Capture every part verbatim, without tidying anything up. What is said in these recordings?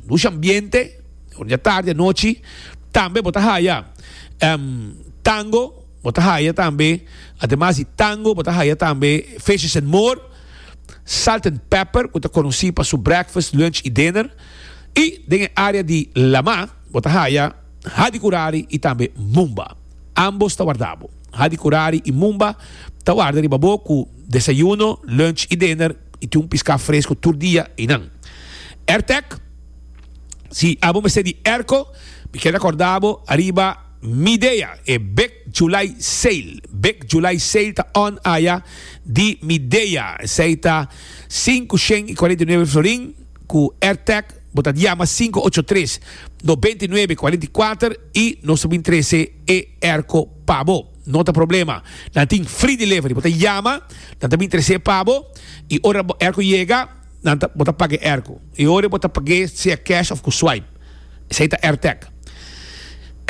Dushi ambiente, ora tardi, anochi. Tambe bo ta haya um, Tango, bo ta haya tambe, ademas di Tango, bo ta haya tambe Fishes and More, Salt and Pepper, ku ta konosí pa su breakfast, lunch i dinner. I den área di lama, bo ta haya Hadicurari i tambe Mumba. Ambos ta warda bo. Hadicurari i Mumba ta warda riba bo ku desayuno, lunch i dinner i tin un piská fresku tur dia einan. AirTech, si abo mester di airco, mi ke rekordá bo ariba Midea, e Big July Sale. Big July Sale ta on aya di Midea. Esei ta sinku shen i kuarenta i nuebe florin ku AirTech. Bo ta yama sinku ocho tres nobenta i nuebe kuarenta i kuater i nos ta trese e airco pa bo. No ta problema. Nan tin free delivery. Bo ta yama, nan ta trese pa bo i ora airco yega, nan ta, bo ta paga airco. I ora bo ta paga sea cash òf ku swipe. Esei ta AirTech.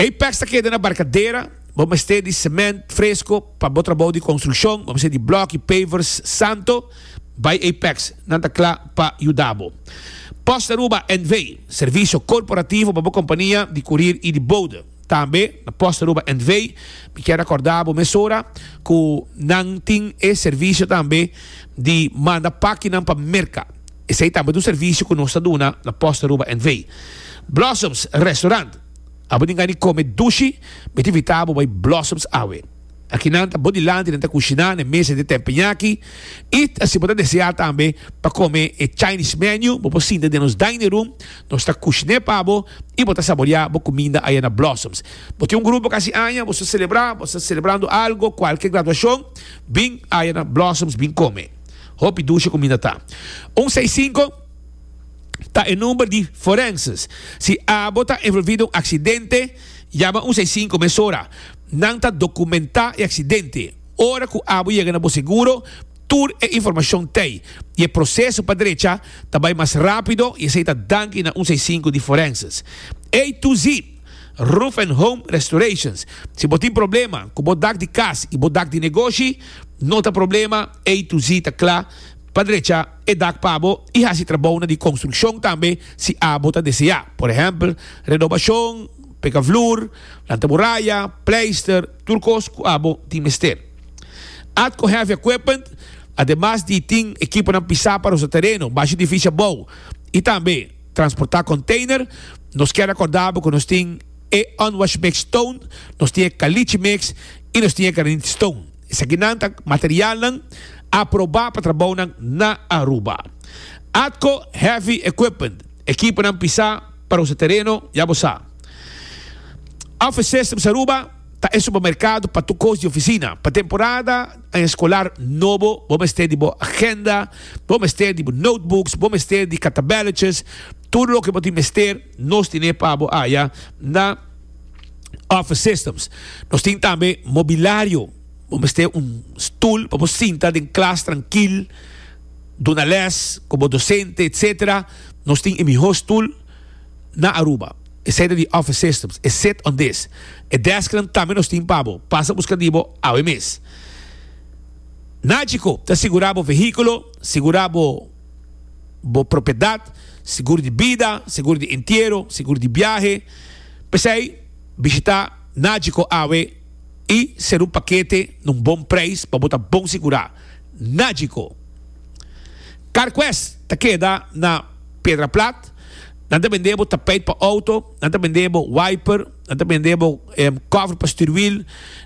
Apex ta keda na Barcadera, bo mester di cement fresco pa bo trabou di konstrukshon, bo mester di blòki, pavers, santo, bai Apex, nan ta kla pa yuda bo. Post Aruba N V, servisio korporativo pa bo kompania di koerier i di bode. Tambe, na Post Aruba N V, mi ke rekordá bo mesora ku nan tin e servisio tambe di manda pakinan pa Merka. Esei tambe ta un servisio ku nos ta duna na Post Aruba N V. Blossoms Restaurant. Abo tin gana di kome dushi, mi ta invitá bo bai Blossoms awe. Aki nan ta bo dilanti, nan ta kushiná na mesa di teppanyaki. I si bo ta deseá tambe pa kome e Chinese menu, bo por sinta den nos dining room, nos ta kushiná pa bo i bo ta saboriá bo kuminda ei na Blossoms. Bo tin un grupo kasi aña, bo ta selebrá, bo ta selebrando algu, kualke graduashon, bin ei na Blossoms, bin kome. Hopi dushi kuminda ta. un seis sinku ta e number di forenses. Si abo ta envolví den un aksidente, yama un seis sinku mesora. Nan ta dokumentá e aksidente. Ora ku abo yega na bo seguro, tur e informashon t'ei. I e proseso pa drecha ta bai mas rápido i esei ta danki na un seis sinku di forenses. A to Z Roof and Home Restorations. Si bo tin problema ku bo dak di kas i bo dak di negoshi, no ta problema, A to Z ta kla pa drecha e dak pa bo i hasi trabou di konstrukshon tambe si abo ta deseá. Por ehèmpel, renovashon, pega vloer, lanta muraya, pleister, tur kos ku abo tin mester. Atco Heavy Equipment, ademas di tin ekiponan pisá pa e tereno, basha edifisio abou i tambe transportá container, nos ke rekordá ku nos tin e Unwash Mix Stone, nos tin Caliche Mix i nos tin Granite Stone. Esakinan ta materialnan aprobá pa trabou na Aruba. Atco Heavy Equipment, ekiponan pisá pa e tereno, ya bo sa. Office Systems Aruba ta e supermerkado pa tur kos di ofisina. Pa temporada eskolar nobo, bo mester di bo agenda, bo mester di bo notebooks, bo mester di katabelletjes, tur loke bo mester, nos tin pa bo aya na Office Systems. Nos tin tambe mobiliario. Bo mester un stul pa bo sinta den klas trankil, duna les, komo dosente, et cetera. Nos tin e mihó stul na Aruba. Esei ta di Office Systems. E sit on this. E desk tambe nos tin pa bo. Pasa buska di bo awe mes. Nagico, ta sigurá bo vehíkulo, sigurá bo bo propiedat, seguro di bida, seguro di entiero, seguro di biahe. P'esei, bishitá Nagico awe i sera un pakete na un bon preis pa bo ta bon sigurá. Nagico. CarQuest ta keda na Piedra Plat. Nan ta bende tapijt pa outo, nan ta bende wiper, nan ta bende um, cover pa stuurwiel,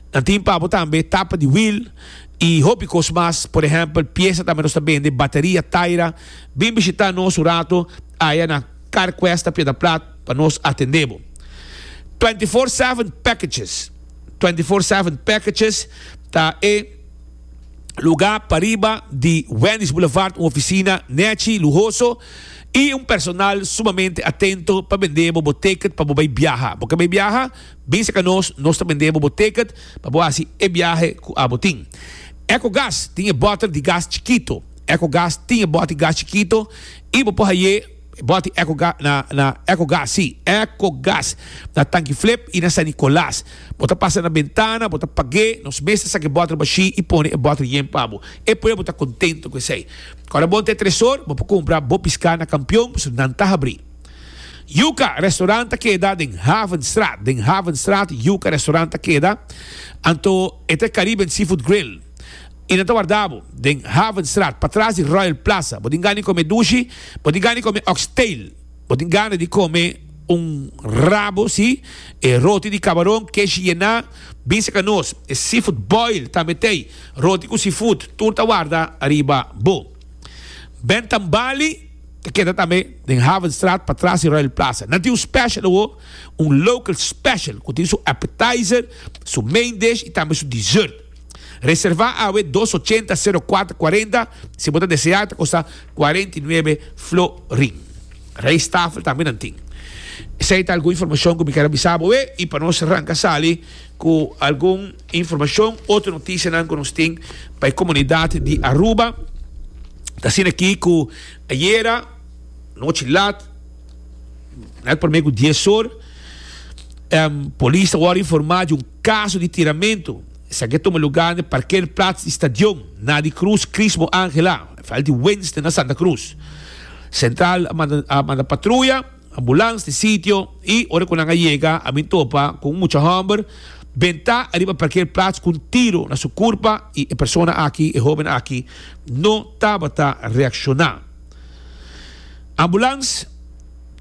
nan tin pa tambe tapa di wiel i hopi kos mas, por ehèmpel, piesa tambe nos ta bende, bateria, taira. Bin bishitá nos un ratu aya na CarQuest Piedra Plat pa nos atendé bo. twenty-four seven Packages. twenty-four seven Packages ta e lugá pariba di Wendy's Boulevard, un ofisina nechi, luhoso i un personal sumamente atento pa bende bo ticket pa bo biaha. Bo ke biaha, bin serka nos, nos ta bende bo ticket pa bo hasi e biahe ku abo tin. EcoGas tin bòter di gas chikitu. EcoGas tin bòter di gas chikitu i bo por bòter EcoGas na na EcoGas, si, EcoGas na Tanki Flip i na San Nicolas. Bo ta pasa na bentana, bo ta paga, nos mes ta saka e bòter bashí i pone e bòter yen pa bo. E pueblo ta kontentu ku esei. Ora bo te tresor, bo kumpra bo piská na Kampeon, nan ta habrí. Yuca Restaurant ta keda den Havenstraat. Den Havenstraat Yuca Restaurant ta keda. Anto e ta Caribbean Seafood Grill. Y nan ta warda bo den Havenstraat, patras di Royal Plaza. Bo tin gana di come dushi, bo tin gana di come oxtail, bo tin gana di come un rabo, si, e roti di cabaron, keshi yena, bin seca nos. E seafood boil tambe t'ey, roti cu seafood, tur ta warda ariba bo. Bentam Bali ta keda tambe den Havenstraat, patras di Royal Plaza. Nan tin un special awo, un local special, cu tin su appetizer, su main dish y tambe su dessert. Reserva awe dos ochenta sero kuater kuarenta si bo ta desea, ta kosta kuarenta i nuebe florin. Rijsttafel tambe nan tin. Esei ta algun informashon ku mi kier a bisa bo e i pa nos ranka sali ku algun informashon, otro notisianan ku nos tin pa e komunidat di Aruba. Ta asina aki ku ayera nochi lat, net prome ku dies or, polis ta wòrdu informá di un kaso di tiramentu. Esaki a tuma lugá na e parkeerplaats di stadion na di Cruz Crismo Angela, veld di Winston na Santa Cruz. Central a manda a manda patruya, ambulans di sitio y ora cu nan a yega a bin topa cu un mucha homber benta ariba parkeerplaats cu un tiro na su curpa y e persona aki, e hoben aki no tabata reacciona. Ambulans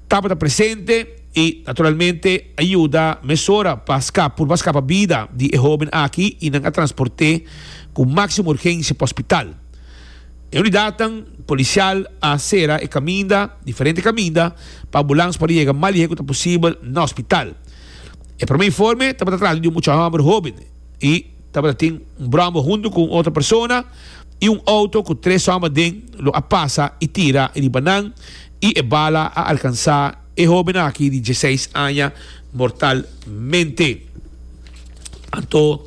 tabata presente y naturalmente a yuda mesora pa scapa, purba scapa bida di e hoben aki y nan a transporte cu maximo urgencia pa hospital. E unidadnan policial a cera e caminda, diferente caminda, pa ambulans por a yega mas lihe cu ta posibel na hospital. E prome informe tabata trata di un mucha homber hoben y tabata tin un brombo hunto cu un otro persona y un auto cu tres homber den lo a pasa y tira riba nan y e bala a alcansa e hoben aki di dieseis aña mortalmente. Anto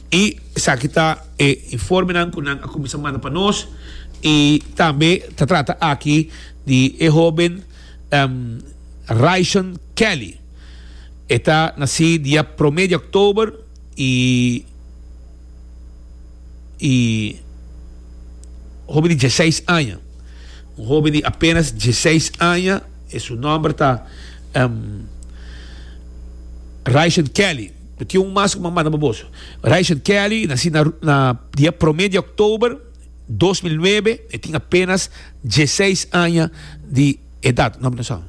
y esaki ta e informenan cu nan a cuminsa manda pa nos y tambe ta trata aki di e hoben Raishon Kelly. E ta naci dia prome di october y y hoben di dieseis aña. Un hoben di apenas dieseis aña e su nomber ta Raishon Kelly. Mi tin un mas ku mi a manda pa boso. Raishon Kelly naci na na dia prome di october dos mil nuebe. E tin apenas dieseis aña di edad. No, no sa.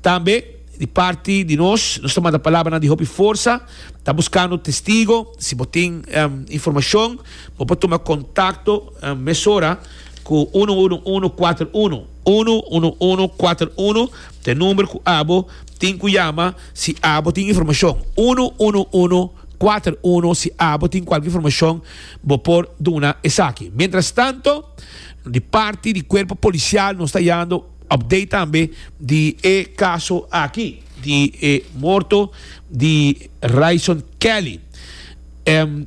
Tambe di parti di nos, nos ta manda palabranan di hopi forsa. Ta buscando testigo. Si bo tin informacion, bo por tuma contacto mesora ku uno uno uno kuater uno. Uno uno uno kuater uno ta e number ku abo tin ku yama si abo tin informacion. Uno uno uno kuater uno si abo tin kualke informacion bo por duna esaki. Mientras tanto, di parti di cuerpo policial nos ta yando update tambe di e caso aki di e morto di Ryson Kelly.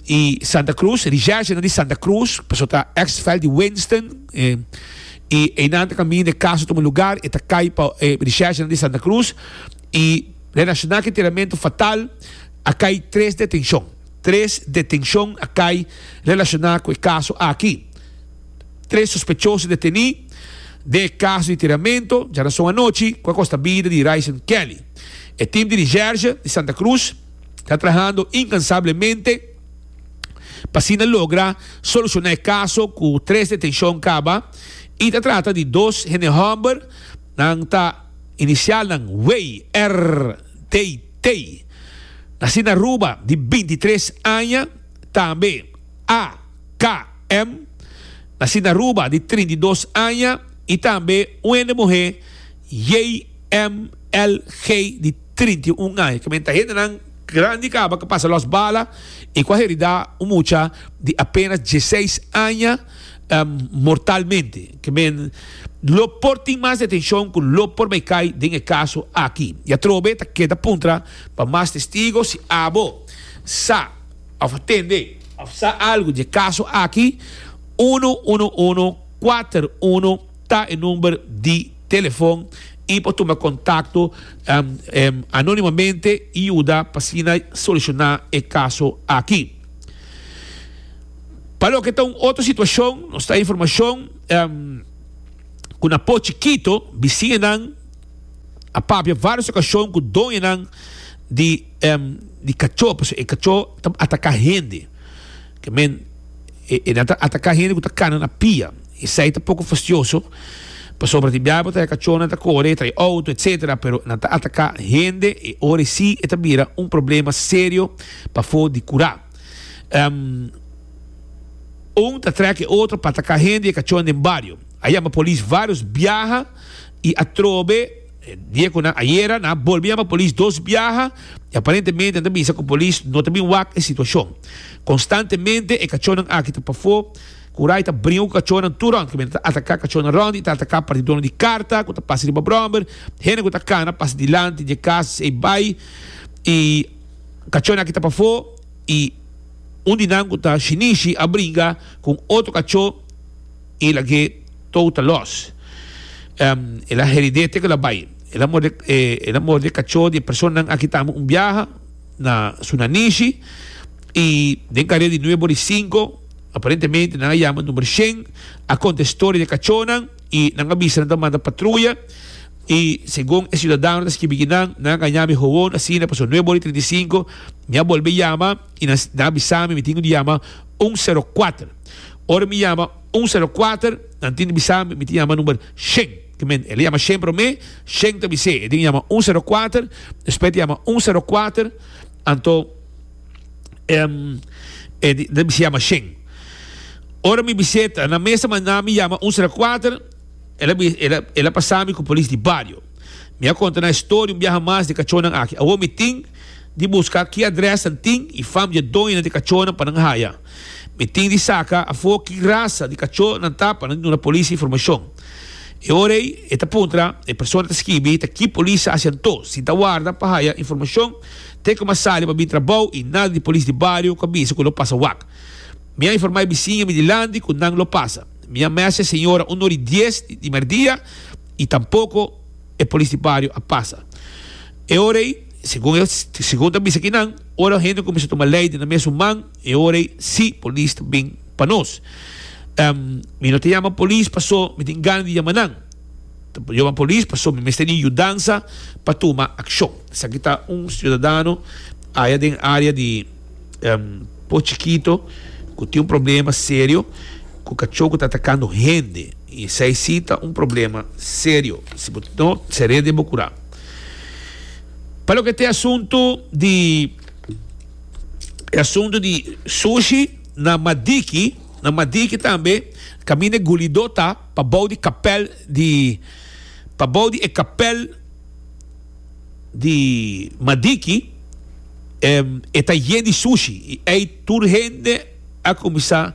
Y Santa Cruz, recherche di Santa Cruz, pasobra ta ex veld di Winston, y einan ta caminda e caso tuma lugar, e ta cay pa e recherche di Santa Cruz, y relaciona cu e tiramento fatal a cay tres detencion. Tres detencion a cay relaciona cu e caso aki. Tres sospechoso deteni den e caso di tiramento djarason anochi cu a costa bida di Ryson Kelly. E team di recherche di Santa Cruz ta trahando incansablemente pa asina logra soluciona e caso cu tres detencion caba y ta trata di dos hende homber, nan ta inicialnan W R D T, naci na Aruba di bintitres aña, tambe A K M, naci na Aruba di trinta i dos aña y tambe un hende muhe J M L G di trinta i un aña. Kimen ta hendenan grandi caba cu pasa los bala y cu a herida un mucha di apenas dieseis aña mortalmente. Kimen lo por tin mas detencion cu lo por bay cay den e caso aki. Y atrobe ta keda puntra pa mas testigo si abo sa of a tende of sa algo di e caso aki. Uno uno uno kuater uno ta e number di telefon y por tuma contacto anonimamente y yuda pa asina soluciona e caso aki. Pa loke ta un otro situacion, nos ta informacion cu na Po Chikito bisiñanan A papia vários okashon ku doñonan di um, di kachó, pasobra e kachó ta ataká hende. Ke men e, e nan ta ataká hende ku ta kana na pia. Esei ta poko fastioso. Pasobra tin biaha bo ta kachónan ta kore, trae outo, etcétera. Pero nan ta ataká hende e ora sí e ta bira un problema serio pafó di kurá. Um, un ta trèk e otro pa ataká hende e kachó den bario. A yama polis vários biaha i atrobe dia ku nan ayera nan a bolbe yama polis dos biaha i aparentemente nan ta bisa ku polis no ta bin wak e situashon. Konstantemente e kachónan aki ta pafó ku rai ta bringa ku kachónan tur rònt, kimen ta ataká kachónan rònt i ta ataká partidónan di karta ku ta pasa riba bròmer, hende ku ta kana pasa dilanti di e kas ei bai i kachónan aki ta pafó i un di nan ku ta shinishi a bringa ku un otro kachó i lag'é total loss. Um, el a herid'é te ku el a bai. El a morde, eh, el a morde kachó di e personanan aki tambe un biaha na su nanishi i den kareda di nuebe ora i sinku aparentemente nan a yama number shen, a konta e storia di e kachónan i nan a bisa nan ta manda patruya i segun e siudadano ta skibi ki nan, nan a gaña mi howon asina pasobra nuebe ora i trinta i sinku mi a bolbe yama i nan nan a bisa mi mi tin ku di yama un sero kuater. Ora mi yama un sero kuater, nan tin di bisa mi, mi tin yama number shen. Ke men, el a yama shen promé, shen ta bis'é, e tin yama un sero kuater, despues e ta yama un sero kuater, anto em, e di, ta bis'é yama shen. Ora mi bis'é, ta nan mes a manda mi yama un sero kuater, el a bi, el a, el a pasa mi ku polis di bario. Mi a konta nan e storia un biaha mas di e kachónan aki. Awor mi tin di buska ki adrès nan tin i fam di e doñonan di e kachónan pa nan haya. Mi tin di saka afó ki rasa di kachó nan ta pa nan duna polis informashon. E ora ei e ta puntra, e persona ta skibi ta ki polis a hasi anto, si ta warda pa haya informashon te ku mi a sali pa bin trabou i nada di polis di bario ku a bisa ku lo pasa wak. Mi a informá e bisiña mi dilanti ku nan lo pasa. Mi a mèsha e señora un ora i dies di mèrdia i tampoko e polis di bario a pasa. E ora ei, segun e segun ta bisa kinan, ora hende kuminsá tuma lei den nan mesun man, e ora ei sí polis ta bin pa nos. Um, mi no ta yama polis paso mi tin gana di yama nan. Ta yama polis paso mi mester di yudansa pa tuma akshon. Esaki ta un siudadano aya den área di um, Pos Chikito ku tin un problema serio ku kachó ku ta atakando hende. I esei sí ta un problema serio. Si bo no ser'é den bo kurá. Pa loke ta e asuntu di e asuntu di sushi na Madiki, na Madiki tambe kaminda e gulidó ta pabou di kapèl di pabou di e kapèl di Madiki e ta yen di sushi i ei tur hende a kuminsá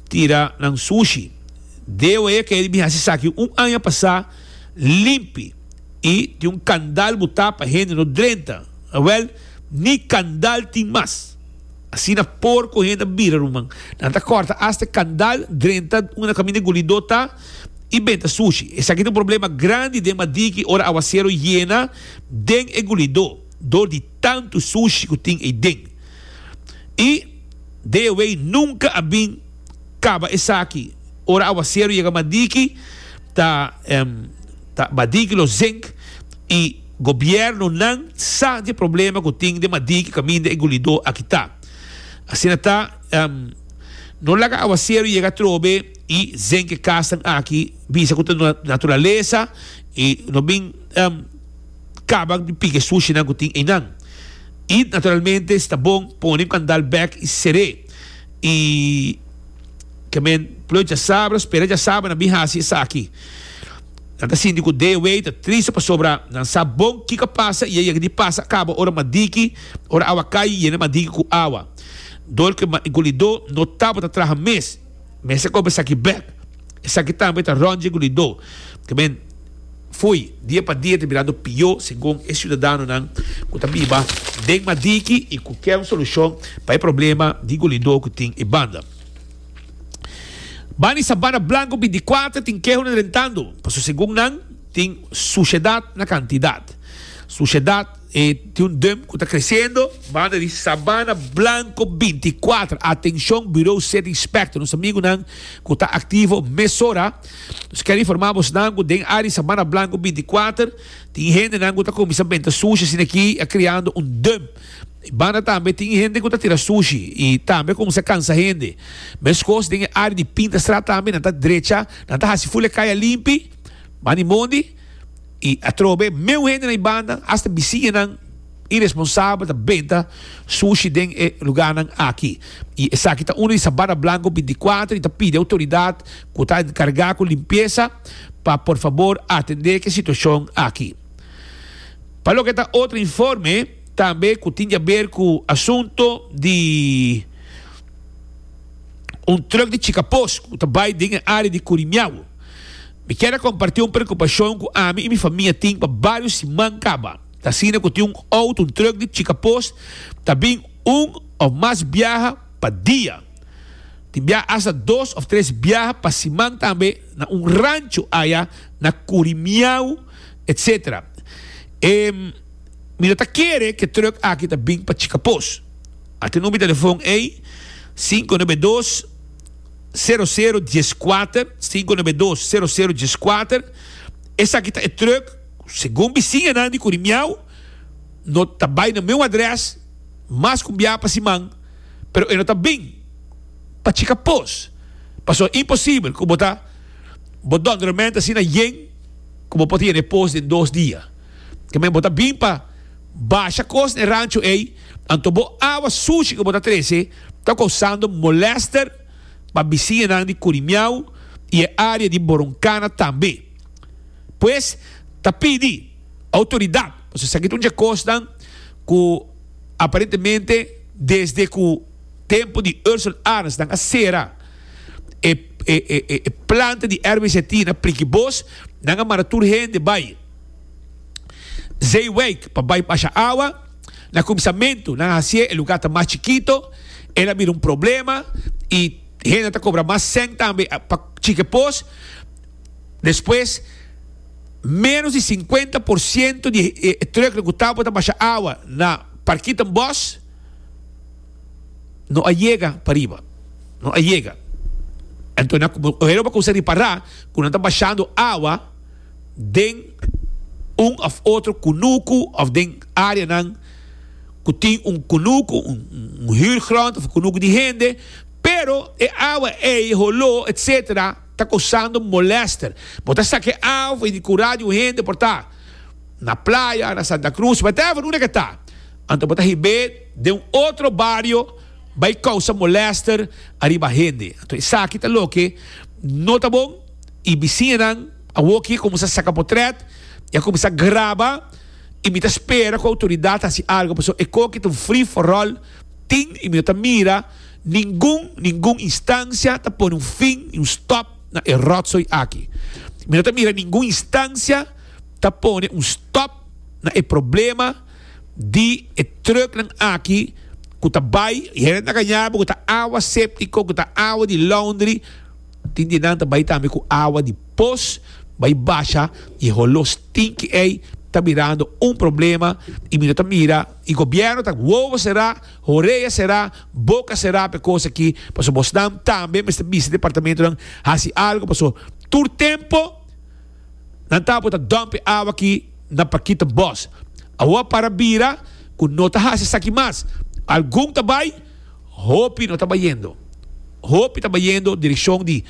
tira nan sushi. Deo e kere bin hasi esaki un aña pasá limpi i tin un kandal butá pa hende no drenta. Awèl, ni kandal tin mas. Asina porko hende a bira, ruman. Nan ta kòrta asta e kandal, drenta unda kaminda e gulidó ta i benta sushi. Esaki ta un problema grandi den Madiki ora awaseru yena den e gulidó dor di tantu sushi ku tin eiden. I D W nunka a bin kaba esaki. Ora awaseru yega Madiki ta ta Madiki lo zink i gobiernonan sa di e problema ku tin den Madiki kaminda e gulidó aki ta. Asina ta no laga awaseru yega atrobe i zink e kasnan aki bisa ku ta naturalesa i no bin kaba di pika e sushinan ku tin einan. I naturalmente si ta bon pone un kandal bek i ser'é i. Ke men ploi djasabra, spera djasabra nan bin hasi esaki. Nan ta sinti ku D W ta triste pasobra nan sa bon kiko a pasa i a yega di pasa a kaba ora madiki, ora awa kai i yena madiki ku awa. Dor ku e gulidó no tabata traha mes, mester koba esaki bek. Esaki tambe ta rònt dje gulidó. Ke men fui, dia pa dia ta birando pió segun e siudadanonan ku ta biba den madiki i ku ke un solushon pa e problema di gulidó ku tin e banda. Bani Sabana Blanco binti kuater tin keho na drentando, pasobra segun nan tin sushedat na kantidat. Sushedat E tin un dump ku ta kresiendo banda di Sabana Blanco binti kuater. Atenshon Bureau City Inspector, nos amigunan ku ta aktivo mesora. Nos kier informá bosnan ku den área di Sabana Blanco binti kuater tin hendenan ku ta kuminsá benta sushi asina aki a kriando un dump. Banda tambe tin hende ku ta tira sushi i tambe kuminsá kansa hende. Meskos den e área di Pintastraat tambe nan ta drecha, nan ta hasi ful e kaya limpi, banda di mondi. I atrobe meu hende na e banda, hasta bisiñanan iresponsabel ta benta sushi den e lugarnan aki. I esaki ta uno di Sabana Blanco binti kuater i ta pidi outoridat ku ta enkargá ku limpiesa pa por fabor atendé ku e situashon aki. Pa loke ta otro informe tambe ku tin di aber ku asunto di un trùk di Chikapos ku ta bai den e área di Kurimiau. Mi kier a kompartí un preokupashon ku ami i mi famia tin pa vários siman kaba. Ta asina ku tin un outo, un trùk di Chikapos ta bin un òf mas biaha pa dia. Tin biaha asta dos òf tres biaha pa siman tambe na un rancho aya na Kurimiau, etcetera. E mi no ta kere ku e trùk aki ta bin pa Chikapos. A tin number di telefon ei, sinku nuebe dos, sero sero dies kuater, sinku nuebe dos, sero sero dies kuater. Esaki ta e trùk, segun bisiñanan di Kurimiau, no ta bai na meu adrès mas ku un biaha pa siman, pero e no ta bin pa Chikapos. Pasobra imposibel ku bo ta bo dònderment asina yen ku bo por ta yena e pos den dos dia. Ke men bo ta bin pa basha kos na e rancho ei, anto bo awa sushi ku bo ta trese ta kousando molèster pa bisiñanan di Kurimiau i e área di Boronkana tambe. Pues ta pidi outoridat, pasobra esaki ta un dje kosnan ku aparentemente desde ku tempu di Ursel Arends nan a sera e, e, e, e, e planta di R W Z T na Prikibos, nan a manda tur hende bai Zeewijk pa bai basha awa. Na kuminsamentu nan a hasié e lugá ta mas chikito, el a bira un problema i hende ta kobra mas sèn tambe pa chike pos. Despues menos di sinkuenta por siento di e trùknan ku tabata basha awa na Parkietenbos no a yega pariba, no a yega. Anto nan hende a kuminsá ripará ku nan ta bashando awa den un òf otro kunuku òf den áreanan ku tin un kunuku, un, un huurgrond òf un kunuku di hende, pero e awa ei, holó, etcétera, ta kousando molèster. Bo ta saka e awa di kurá di un hende por ta na playa, na Santa Cruz, whatever, unda ke ta. Anto bo ta hib'é den un otro bario bai kousa molèster ariba hende. Anto esaki ta loke no ta bon i bisiñanan awoki kuminsá saka potrèt i a kuminsá graba i mi ta spera ku outoridat hasi algu pasobra e koki ta un free for all tin i mi no ta mira ningun ningun instansia ta pone un fin i un stòp na e ròtzooi aki. Mi no ta mira ningun instansia ta pone un stòp na e problema di e trùknan aki ku ta bai i hende ta gaña bo ku ta awa séptiko, ku ta awa di laundry. Tin di nan ta bai tambe ku awa di pos bai basha i e holó stinki ei ta mirando un problema i mi no ta mira i gobièrnu ta wowo será, horea será, boka será pa e kos aki pasobra bosnan tambe mester bisa departamentonan hasi algu pasobra tur tempu nan tabata dòmp e awa aki na Parkietenbos. Awor a para bira ku no ta hasi esaki mas. Algun ta bai, hopi no ta bayendo. Hopi ta bayendo direkshon di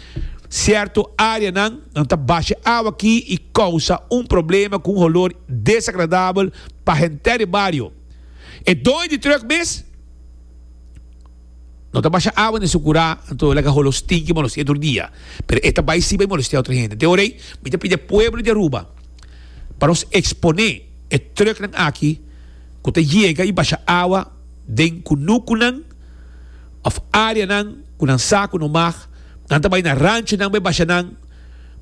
sierto áreanan, nan ta basha awa aki i kousa un problema ku un holor desagradabel pa henter e bario. E doño di trùk mes no ta basha awa den su kurá, anto laga holor stinki molestia tur dia. Pero e ta bai si bai molestia otro hende. Te ora ei mi ta pidi e pueblo di Aruba pa nos eksponé e trùknan aki ku ta yega i basha awa den kunukunan òf áreanan ku nan sa ku no mag. Nan ta bai na ranchonan bai basha nan.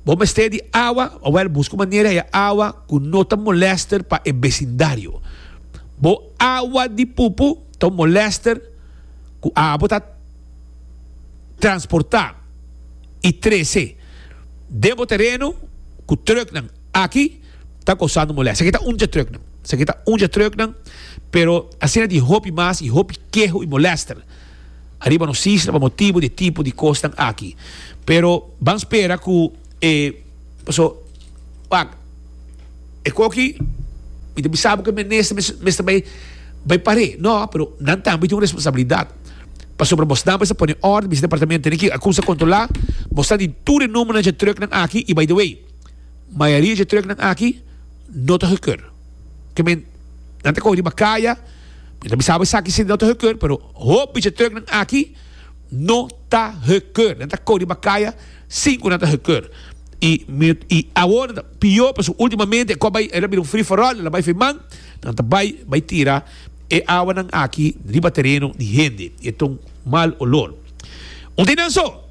Bo mester di awa, awel buska un manera haya awa ku no ta molèster pa e besindario. Bo awa di pupu ta un molèster ku abo ta transportá i trese den bo tereno ku trùknan aki ta kousando molèster. Esaki ta un dje trùknan. Esaki ta un dje trucknan, pero asina tin hopi mas y hopi keho y molester ariba nos isla pa motibo di e tipo di cosnan aki. Pero ban spera cu e paso wak e koki mi ta bisa bo cu e minister mester bay bay pare no pero nan tambe tin un responsabilidad pasobra bosnan mester pone orde bisa departamento tene ki a cuminsa controla bosnan di tur e numbernan dje trucknan aki y by the way mayoria dje trucknan aki no ta gekeur ke men nan ta coge riba caya mi ta bisa bo esaki si no ta gekeur pero hopi dje trucknan aki no ta gekeur nan ta coge riba caya sin cu nan ta gekeur y mi y awor nan ta pio pasobra ultimamente e cu a bay el a bira un free for all el a bay firman nan ta bay bay tira e awanan aki riba tereno di hende y e ta un mal olor. Un tin nan so,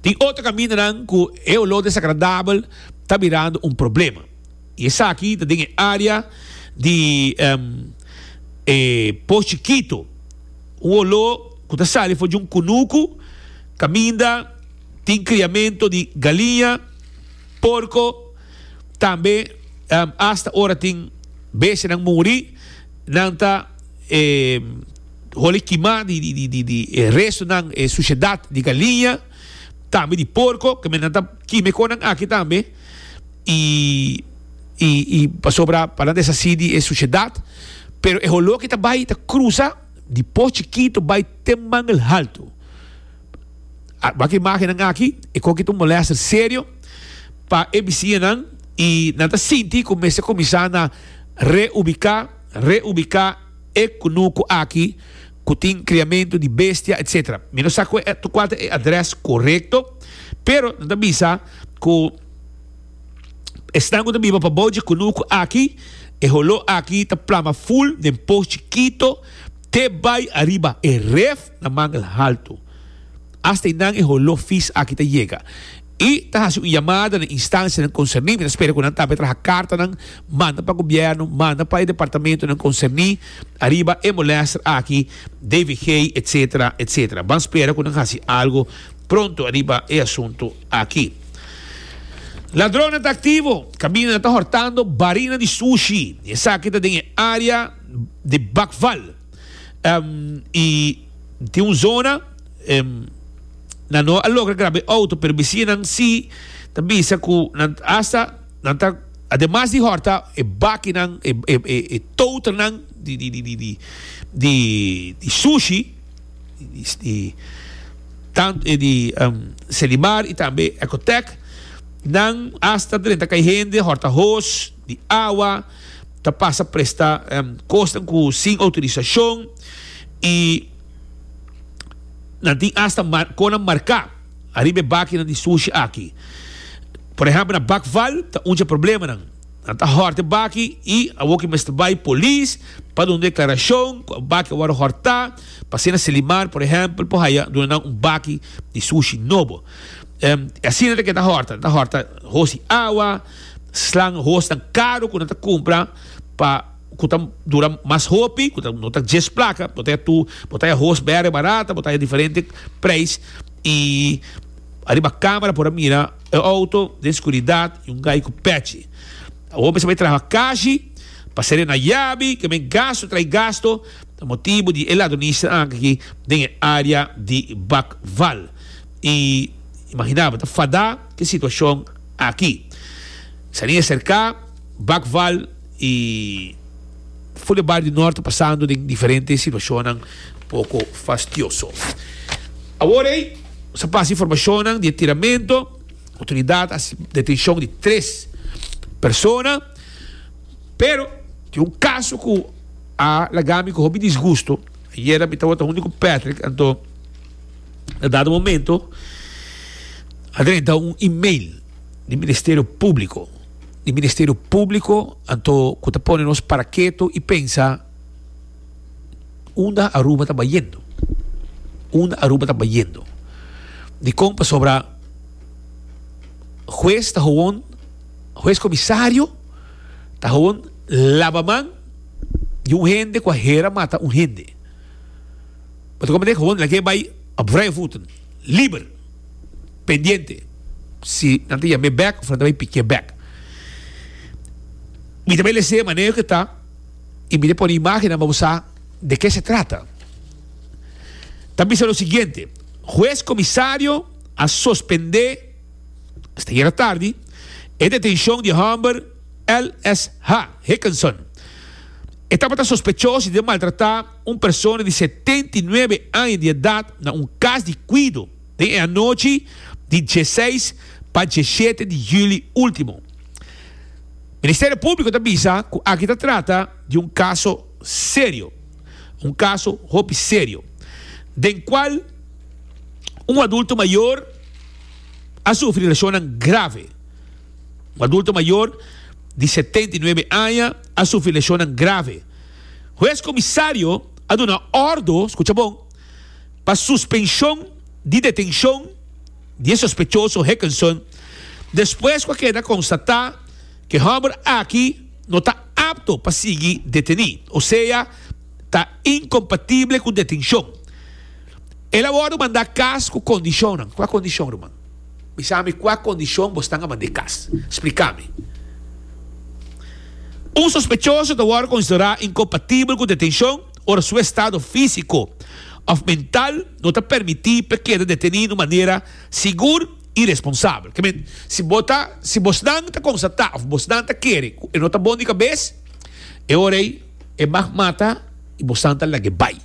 tin otro camindanan cu e olor desagradabel ta birando un problema. Y esaki ta den e area di e Pos Chikito. Un olor cu ta sali for di un cunucu caminda tin criamento di galiña, porco, tambe hasta ora tin bestianan muri. Nan ta e holi kima di di di di e restonan, e sushedat di galiña, tambe di porko, ke men nan ta kima e konan aki tambe, i i i pasobra pa nan deshasí di e sushedat. Pero e holó ki ta bai ta krusa di pos chikito bai te Mangel Haltu. Wak e imágennan aki, e koki ta un molèster serio pa e bisiñanan i nan ta sinti ku mester kuminsá na reubiká. Reubiká e kunuku aki ku tin kriamentu di bestia etc. Mi no sa kua ta e adrès korekto, pero nan ta bisa ku esnan ku ta biba pabou dje kunuku aki, e holó aki ta plama ful den pos chikito te bai ariba e ref na Mangel Haltu. Asta einan e holó fis aki ta yega. I ta hasi un yamada na instansianan konserní. Mi ta spera ku nan tambe traha kartanan manda pa gobièrnu, manda pa e departamentonan konserní ariba e molèster aki, D V G, etsetera, etsetera. Ban spera ku nan hasi algu pronto ariba e asuntu aki. Ladronnan ta aktivo, kamindanan ta hòrtando barina di sushi. Esaki ta den e área di Bakval. I tin un zona. Nan no a logra graba e auto, pero bisiñanan si ta bisa cu nan hasta nan ta ademas di horta e bakinan, e e e e toternan di di di di di di di sushi di di tant e di Selimar y tambe Ecotec, nan hasta drenta cay hende horta hos di awa, ta pasa presta cosnan cu sin autorisacion y Nan tin asta konan marká ariba e bakinan di sushi aki. Por ehèmpel na Bakval ta un dje problemanan. Nan ta hòrta e baki i awor ki mester bai polis pa duna un deklarashon ku e baki a wòrdu hòrtá pa asina Selimar por ehèmpel por haya duna nan un baki di sushi nobo. Asina ta keda hòrta. Nan ta hòrta hos di awa, slan hosnan karu ku nan ta kumpra pa. Ku ta dura mas hopi, ku ta no ta djes plaka, bo ta tu, bo ta hos bere barata, bo ta diferente prijs i ariba kamera por a mira e auto den skuridat i un gai ku pechi. Awor mester bai traha kashi pa sere na yabi, ke men gasto trai gasto ta motibu di e ladronista aki den e area di Bakval. I imagina bo ta fada ke situashon aki. Sania serka Bakval. I for di bario di nort ta pasando den diferente situacionnan poco fastioso. Awor ey nos a pasa informacionnan di e tiramento, autoridad a haci detencion di tres persona, pero tin un caso cu a laga mi cu hopi disgusto. Ayera mi tabata hunto cu Patrick, anto na dado momento a drenta un email di Ministerio Publico. Di Ministerio Publico anto cu ta pone nos para keto y pensa unda Aruba ta bayendo, unda Aruba ta bayendo. Dicon? Pasobra huez ta gewoon, huez comisario ta gewoon laba man di un hende cu a hera mata un hende. Bo ta comprende? Gewoon laga e bay op vrije voeten, liber. Pendiente si nan ta yam'é bek of nan ta bai piki'é bek. Mi ta bay lesa manera cu ta y mi ta pone imagen pa bo sa de ke se trata. Ta bisa lo siguiente: Hues comisario a suspende hasta ayera tardi e detencion di homber L S H. Hickinson. E tabata sospechoso di maltrata un persona di setenta i nuebe aña di edad na un cas di cuido den anochi di diesseis pa diesshete di juli ultimo. Ministerio Publico ta bisa cu aki ta trata di un caso serio, un caso hopi serio, den cual un adulto mayor a sufri lesion grave. Un adulto mayor di setenta i nuebe aña a sufri lesion grave. Hues comisario a duna ordo, scucha bon, pa suspension di detencion di sospechoso Hickinson despues cu a keda constata cu e homber aki no ta apto pa sigui deteni, osea, ta incompatibel cu detencion. El a wordo manda cas cu condicion. Cua condicion, ruman? Bisa mi cua condicion bo ta manda cas. Splica mi. Un sospechoso ta wordo considera incompatibel cu detencion ora su estado fisico of mental no ta permiti pa keda deteni di manera sigur y responsabel. Kiermen, si bo ta, si bo ta constata of bo ta kere, e no ta bon di cabes, e ora e mag mata y bo ta lag'e bay.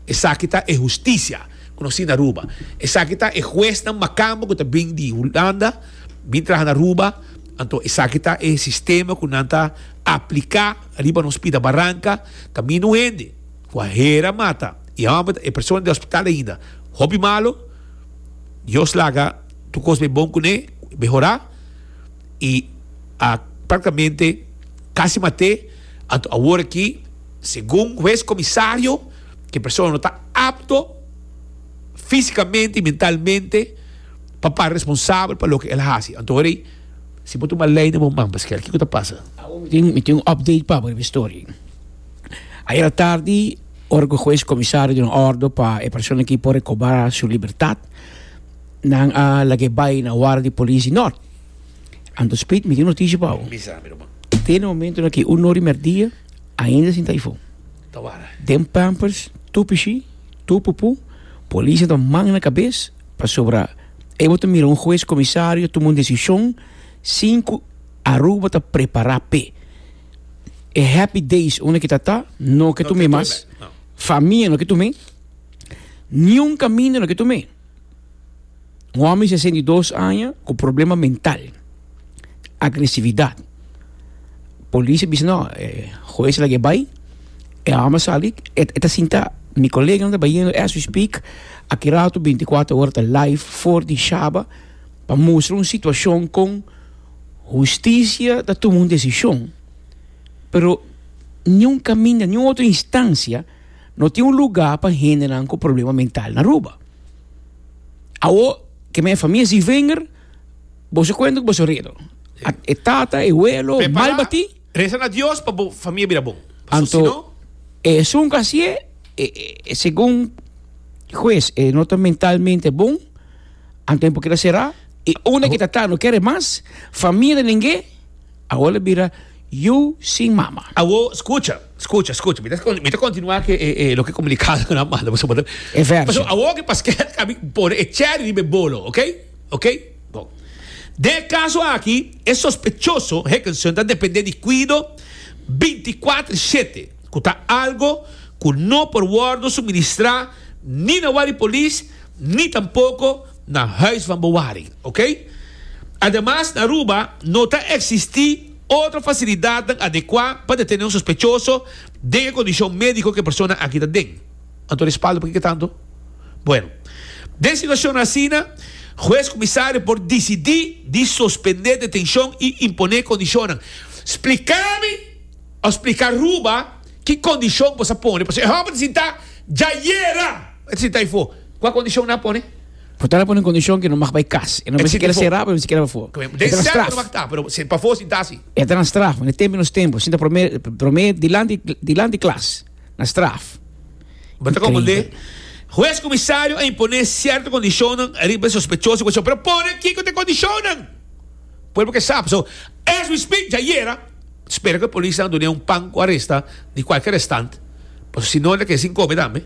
Esaki ta e husticia conoci na Aruba. Esaki ta e huesnan macamba cu ta bin di Hulanda, bin traha na Aruba. Anto, esaki ta e sistema cu nan ta aplica riba nos pida baranca, caminda hende, cu a hera mata, y e persona den hospital ainda. Hopi malo, Dios laga tur cos bay bon cune, mehora, y a practicamente casi mat'e. Anto awor aki, segun hues comisario, cu e persona no ta apto fisicamente y mentalmente pa ta responsabel pa loke el a haci. Anto, si bo tuma ley den man, Pascal, kico ta pasa? Mi tin, mi tin un update pa e story. Ayera tardi, ora cu hues comisario a duna ordo pa e persona aki por recobra su libertad, nan a lag'e bay na warda di polis di Noord. Anto Speed, mi tin noticia pa bo. Bisa, mi ruman. Te na momento aki un or y merdia, ainda sin ta eyfo. Ta warda. Den pampers, tur pishi, tur pupu, polis ta man na cabes, pasobra e bo ta mira un hues comisario tuma un decision sin cu Aruba ta prepara p'e. E happy days unda cu ta ta, no ke tuma mas. Famia no ke tuma. Ningun caminda no ke tuma. Un homber di sesenta i dos aña cu problema mental, agresividad. Polis a bisa no, eh, hues a lag'e bay, e homber a sali, e ta sinta, mi colega ta bayendo as we speak, aki rato binticuater ora ta live for di Shaba, pa mustra un situacion cu husticia ta tuma un decision. Pero ningun caminda, ningun otro instancia no tin un luga pa hende cu problema mental na Aruba. Awo, cu mi famia si vinger, bo cuenta cu bo redo. E tata, e welo, mal bati. Reza na Dios pa e famia bira bon. Anto, e un casi, e, e, segun hues, e no ta mentalmente bon, anto por sera, y unda cu ta no kier mas, famia di ningun, awor a bira yiu sin mama. Awo, scucha, scucha, scucha. Mi ta continua cu eh, eh, loke comunicado nan a manda. E verso. Awo cu Pascal a pone e cherry riba bolo, ok? Ok? Bon. Den e caso aki, e sospechoso, Hickinson, ta depende di cuido binticuater shete, cu ta algo cu no por wordo suministra ni na warda di polis, ni tampoco na huis van bewaring, ok? Ademas, na Aruba no ta existi otro facilidad adecua pa detene un sospechoso den condicion medico cu e persona aki ta den. Anto, respaldo, pakico tanto? Bueno, den situacion asina, hues comisario por dicidi di suspende detencion y impone condicion. Splica mi, of splica Aruba, ki condicion bo a pone. Pasobra e homber sinta, ayera, sinta eyfo. Cua condicion nan a pone? Por tanto, pone condicion cu no mag bay cas. E no E kier sera, no kier pafo. Den cierto no mag ta, pero si pafo sinta asina. E ta na straf, na tempo nos tempo, sinta prome prome dilanti dilanti klas, na straf. Bo ta comprende? Hues comisario a impone cierto condicion riba sospechoso, pero pone aki cu e condicion. Pueblo ke sabi. So, as we speak, ayera, Spera ku e polisnan dun'é un pan ku aresta di kualke restant, pasobra si no el a keda sin kome tambe.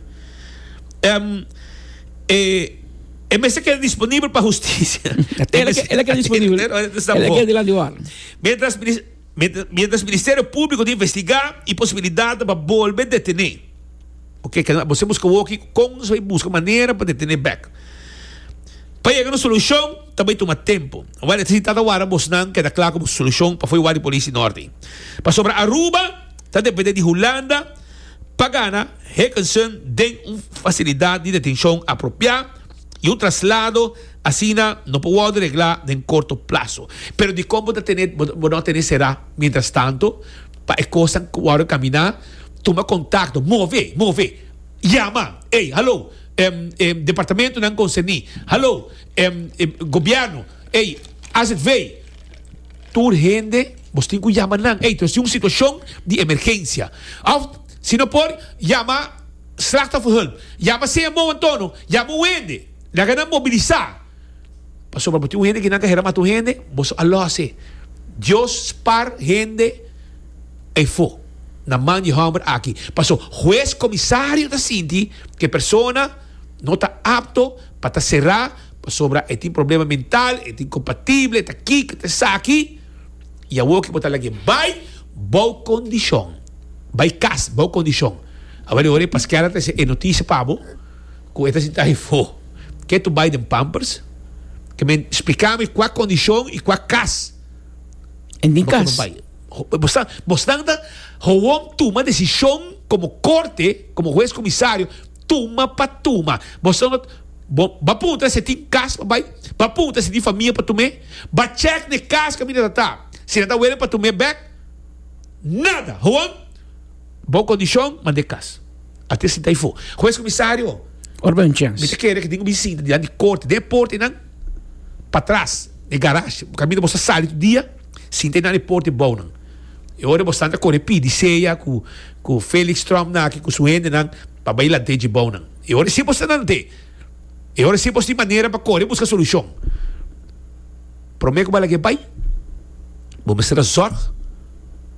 E e mester keda disponibel pa hustisia. El a el a keda disponibel. El a keda dilanti warda. Mientras mientras Ministerio Público ta investigá e posibilidatnan pa bolbe detené. Oke, keda bo buska woki kon nos bai buska manera pa detené bèk. Pa yega na un solushon ta bai tuma tempu. Awor e ta sinta ta warda bosnan keda kla ku bo solushon pa fo'i warda di polis di Norte. Pasobra Aruba ta depende di Hulanda pa gana Hickinson den un fasilidat di detenshon apropiá i un traslado asina no por wòrdu reglá den korto plaso. Pero dikon bo ta tene bo no a tene será mientras tanto pa e kosnan wòrdu kaminá? Tuma kontakto, move, move, yama, ey, hallo, departamentonan konserní, hallo, gobièrnu, ey, A Z V, tur hende bos tin ku yama nan, ey, nos tin un situashon di emergensia. Òf, si no por, yama Slachtofferhulp, yama C M O Antono, yama un hende, laga nan mobilisá. Pasobra bo tin un hende ki nan ka hera mata un hende, boso a lòs e. Dios spar hende eyfo na man di hòmber aki. Paso hues komisario ta sinti ku e persona no ta apto pa ta será pasobra e tin problema mental, e ta inkompatibel, e ta kiko, e ta esaki. I awor ki bo ta lag'é bai bou kondishon. Bai kas bou kondishon. Awor e ora e Paskel a trese e notisia pa bo ku e ta sinta eyfo. Ke tu bai den pampers? Ke men splika mi kua kondishon i kua kas. En den kas. Bosnan, bosnan ta gewoon tuma desishon komo korte, komo hues komisario, tuma pa tuma. Bosnan no, bo ba puntra si e tin kas pa bai, ba puntra si tin famia pa tum'é, ba chèk na e kas kaminda ta ta, si nan ta wele pa tum'é bèk, nada. Gewoon bo kondishon mand'é kas. Ate sinta ayfó. Hues komisario, Ora bai un chèns. Mi ta kere ku tin ku bin sinta dilanti di korte, den e portenan patras, den garage, kaminda bo sa sali tur dia. Sinta nan e porta e bounan. E ora bosnan ta kore pidi sea ku ku Felix Trump na aki ku su hendenan pa bai lant'é dje bounan. E ora si bos ta lant'é. E ora si bos tin manera pa kore buska solushon. Promé ku bo a lag'é bai, bo mester a zòrg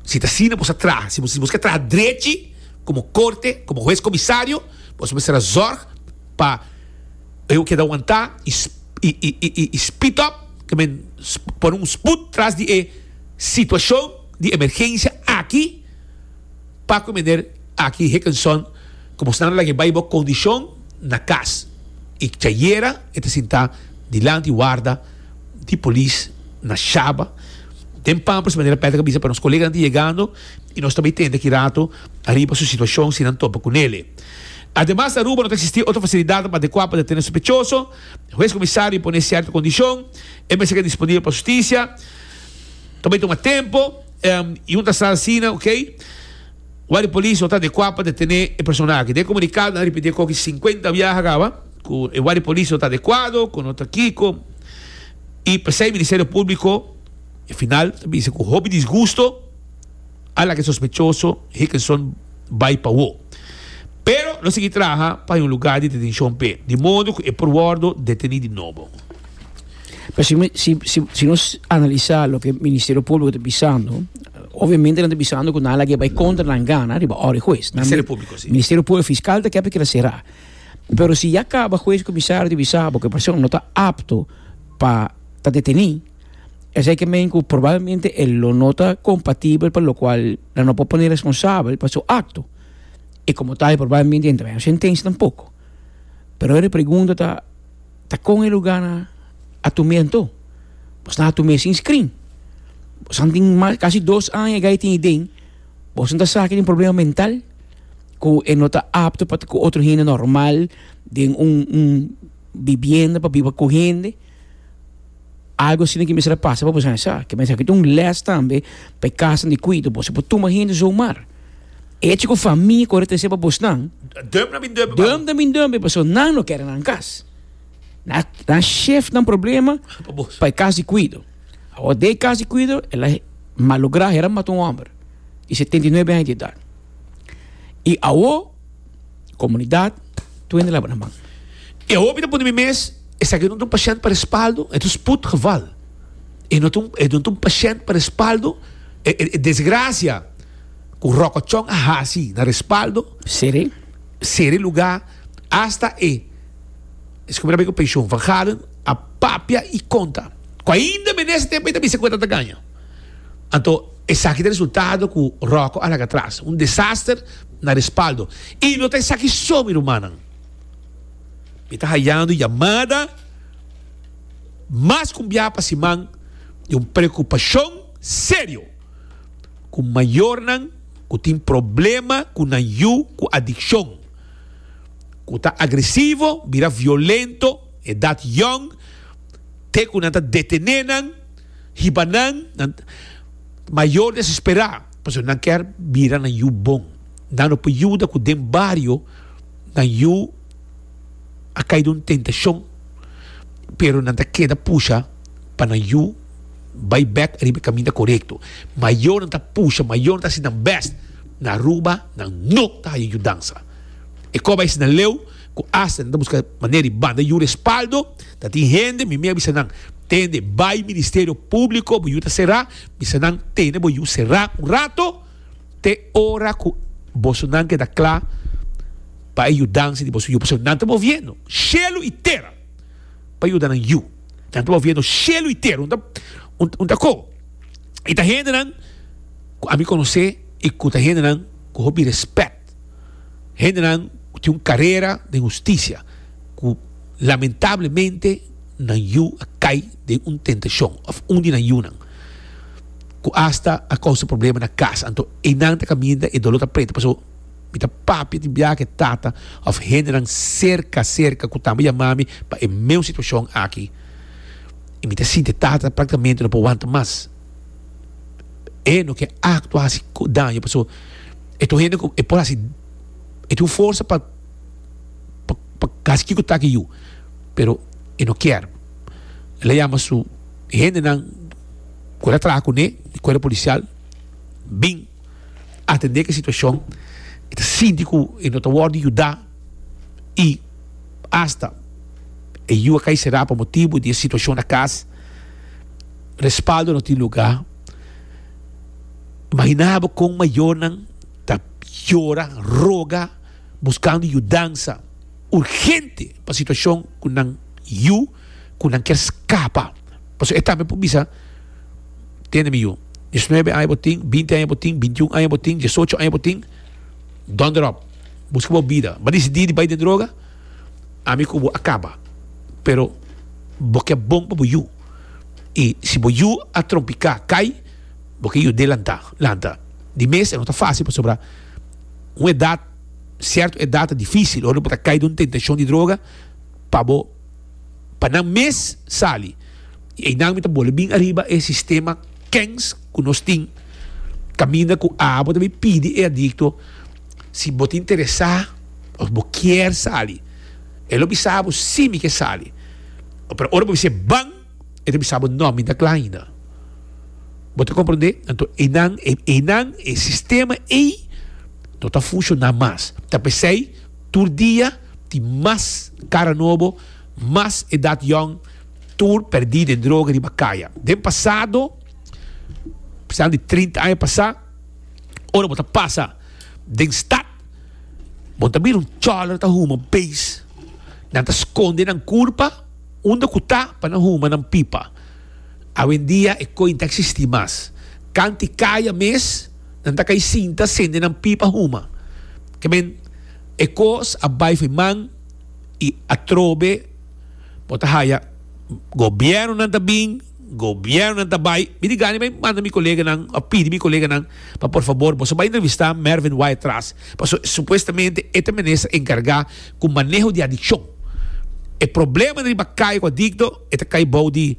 si ta asina bos a traha. Si bos ke traha drechi komo korte, komo hues komisario, bos mester a zòrg pa e keda wantá i i speed up. Ke men pone un sput tras di e situashon di emergensia aki pa ku meneer aki Hickinson ku bosnan a laga e bai bo kondishon na kas i chayera e ta sinta dilanti warda di polis na Shaba den Pampers manera Patrick a bisa pa nos koleganan ta yegando i nos ta bai tende aki rato ariba su situashon si nan topa ku nele. Ademas na Aruba no ta existi otro facilidadnan pa adecua pa detene sospechoso. Hues comisario pone cierto condicion, e mester keda disponibel pa husticia. Ta bay tuma tempo y un ta sa asina, ok. Guardia Polis no ta adecua pa detene e persona aki. Den e comunicado nan a ripiti e koki cincuenta biaha caba cu e Guardia Polis no ta adecuado, cu no ta kico. Y pesey Ministerio Publico e final ta bisa cu hopi disgusto a laga e sospechoso Hickinson bai pa wo. Pero lo sigui traha pa hay un lugar di detencion p'e, di modo cu e por wordo deteni di nobo. Pero si, si, si, si nos analisa loke Ministerio Publico ta bisando, obviamente nan ta bisando cu nan a laga bai contra nan gana riba ora di hues. Nan Ministerio Publico, si. Ministerio Publico, fiscal ta kier pa keda cera. Pero si ya caba hues comisario ta bisa bo cu e persona no ta apto pa ta deteni, esei ke men ku probablemente e lo no ta kompatibel pa lokual nan no por pone responsabel pa su akto. I komo tal probablemente e no ta haña un sentensia tampoko. Pero e pregunta ta, ta kon e lugar nan a tum'é anto? Bos nan a tum'é sin screen. Bos nan tin mas kasi dos aña e gai tin iden, bos nan ta sa ke tin problema mental ku e no ta apto pa ta ku otro hende normal den un un bibienda pa biba ku hende. Algo asina ki mester a pasa pa bo sa sa. Ke mester aki ta un les tambe pa e kasanan di kuido. Boso por tuma hende zomaar. Echo ku famia kore trese pa bosnan. Dump na bin dump pa bo. Dump na bin dump pasobra nan no kere nan kas. Nan nan shift nan problema Pa bos. pa e kas di kuido. Awor den e kas di kuido el a malogra hera mata un homber di setenta i nuebe aña di edat. I awor komunidat tur hende laba nan man. E hopi ta pone mi mes. Esaki no ta un pashènt pa respaldo, e ta un spoedgeval. E no ta un, e no ta un pashènt pa respaldo E, e, e desgracia cu Rocco Tjon a hasi na Respaldo. Sere? Sere lugar hasta e es como era pensioen Van Galen a papia y conta. Cu ainda nesse tempo ainda bisa cuenta ta ganha. Anto, esaki ta resultado cu Rocco a laga atras. Un desaster na Respaldo. Y no ta esaki so, mi rumannan. Mi ta hayando yamada mas cu bia pa siman di un preocupacion serio cu mayornan cu tin problema cu nan yiu cu adiccion, cu ta agresivo, bira violento, edad young, te cu nan ta detene nan, hiba nan, nan mayor desespera, pasobra nan kier bira nan yiu bon. Nan no por yuda cu den bario nan yiu a cay den un tentacion, pero nan ta keda pusha pa nan yiu bay back riba e caminda corecto. Mayornan ta pusha, mayornan ta haci nan best. Na Aruba nan no ta haya yudansa. E cos bay asina leu cu hasta nan ta busca manera di banda yu Respaldo. Ta tin hende, mi mi a bisa nan, tende, bay Ministerio Publico, bo yu ta cera, bisa nan tene bo yu cera un rato te ora cu bosonan keda cla pa e yudansa di boso yu, pasobra nan ta moviendo cielo y tera pa yuda nan yu. Nan ta moviendo cielo y tera, un ta un ta co. Y ta hendenan cu ami conoce y cu ta hendenan cu hopi respet. Hendenan cu tin un carera den husticia cu lamentablemente nan yu a cay den un tentacion of un di nan yunan cu hasta a causa problema na cas. Anto eynan ta caminda e dolor ta preta, pasobra mi ta papia tin biaha e tata of hendenan cerca cerca cu tambe yama mi pa e meun situacion aki y mi ta sinti e tata practicamente no por wanta mas. E no ke actua haci daño pasobra e ta un hende cu e por haci, e tin un forsa pa pa pa haci kico ta ki yu, pero e no kier. El a yama su hendenan cu el a traha cune di cuerpo policial bin atende cu e situacion. E ta sinti cu e no ta wordo yuda y hasta e yu a cay cera pa motibo di e situacion na cas. Respaldo no tin lugar. Imagina bo con mayornan ta yora, roga, buscando yudansa urgente pa situacion cu nan yu cu nan kier scapa. Pasobra e tambe por bisa, Tende mi yu, diesnuebe aña bo tin, binti aña bo tin, bintiun aña bo tin, diesocho aña bo tin, donder op, busca bo bida. Bo a dicidi di bay den droga, ami cu bo a caba. Pero bo ke bon pa bo yu. Y si bo yu a trompica, cay, bo ke yud'é lanta, lanta. Di mes e no ta facil pasobra un edad, cierto edad ta dificil ora bo ta cay den un tentacion di droga pa bo, pa nan mes sali. Y eynan mi ta bole bin ariba e sistema kens cu nos tin caminda cu abo ta bin pidi e adicto si bo ta interesa of bo kier sali. E lo bisa bo si mi ke sali. Pero ora bo bisa ban, e ta bisa bo no, mi ta kla ainda. Bo ta comprende? Anto eynan, eynan e sistema ey no ta funciona mas. Ta pesey tur dia tin mas cara nobo, mas edad yong, tur perdi den droga riba caya. Den pasado, pensando di trinta aña pasa, ora bo ta pasa den stad, bo ta mira un choler ta huma beis. Nan ta sconde nan curpa unda cu ta pa nan huma nan pipa. Awendia e coin ta existi mas. Canti caya mes, nan ta cay sinta sende nan pipa huma. Ke men e cos a bay fo'i man y atrobe bo ta haya gobiernonan ta bin, gobiernonan ta bay. Mi di gana bay manda mi coleganan of pidi mi coleganan pa por favor boso bay entrevista Mervin Wyatt-Ras, pasobra supuestamente e ta minister encarga cu maneho di adiccion. E problema riba caya cu adicto e ta cay bou di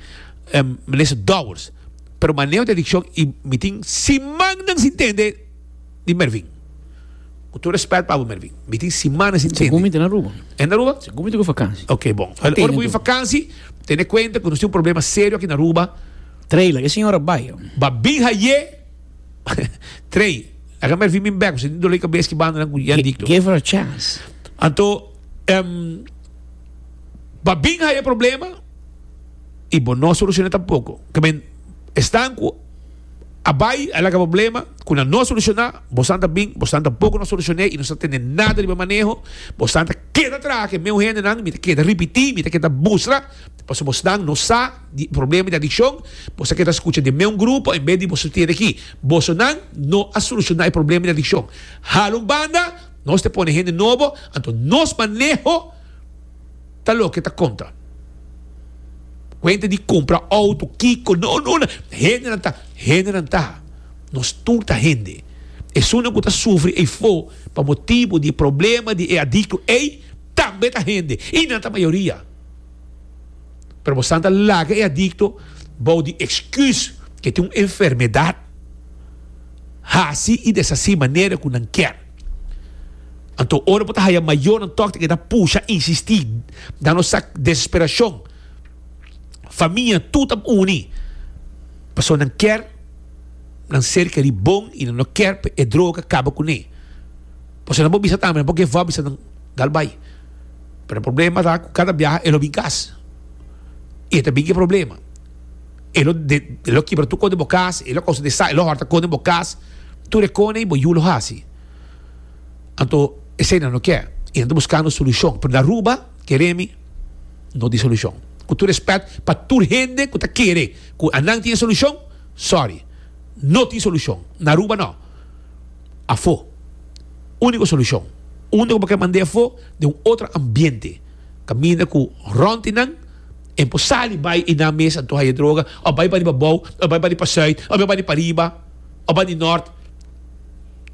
minister Dowers, pero maneho di adiccion y mi tin simannan sin tende di Mervin. Cu tur respet pa bo Mervin, mi tin simannan sin tende. Segun mi ta na Aruba. E na Aruba? Segun mi ta cu vakantie. Ok, bon. Ora bo bin vakantie, tene cuenta cu nos tin un problema serio aki na Aruba. Trailer, e señora bay. Ba bin haye. Trey, laga Mervin bin bek, pasobra tin dolor di cabes ki banda nan cu yan dicto. Give her a chance. Anto, um, ba bin haye problema y bo no soluciona tampoco. Ke men, esnan cu A bai, a laga problema, ku nan no a solushoná, bosan ta bin, bosan tampoko no a solushoné i no sa tene nada riba maneho, bosan ta keda traha ku e meu hendenan, mi ta keda ripití, mi ta keda mustra, pasobra bosnan no sa di problema di adikshon, boso a keda skucha di meu grupo en bes di boso tene aki. Bosonan no a solushoná e problema di adikshon. Hala un banda, nos ta pone hende nobo, anto nos maneho ta loke ta konta. Cuenta di cumpra auto, kico, no, no, no. Hendenan ta, hendenan ta. Nos tur ta hende. Esunnan cu ta sufri eyfo pa motibo di e problema di e adicto ey, tambe ta hende. Y nan ta mayoria. Pero bosan ta laga e adicto bou di excus cu e tin un enfermedad, haci y deshaci manera cu nan kier. Anto ora bo ta haya mayornan tok ta keda pusha, insisti, da nos sa desesperacion. Famia tur ta uni pasobra nan kier nan ser keri bon y nan no kier pa e droga caba cune. Pasobra nan por bisa tambe, nan por give up bisa nan dal bay. Pero e problema ta cu cada biaha e lo bin cas y e ta bin cu e problema. E lo e lo kibra tur cos den bo cas, e lo causa desastre, e lo horta cos den bo cas, tur e cosnan ey bo yu lo haci. Anto esei nan no ke y nan ta buscando solucion. Pero na Aruba, kere mi, no tin solucion. Cu tur respet pa tur hende cu ta kere cu anan tin e solucion, sorry, no tin solucion. Na Aruba no. Afo. Unico solucion. Unda cu bo ke mand'e afo? Den un otro ambiente. Caminda cu rond di nan en por sali bay y nan mes anto haya droga of bay pa riba abou of bay pa riba zuid of bay pa riba pariba of bay di nort.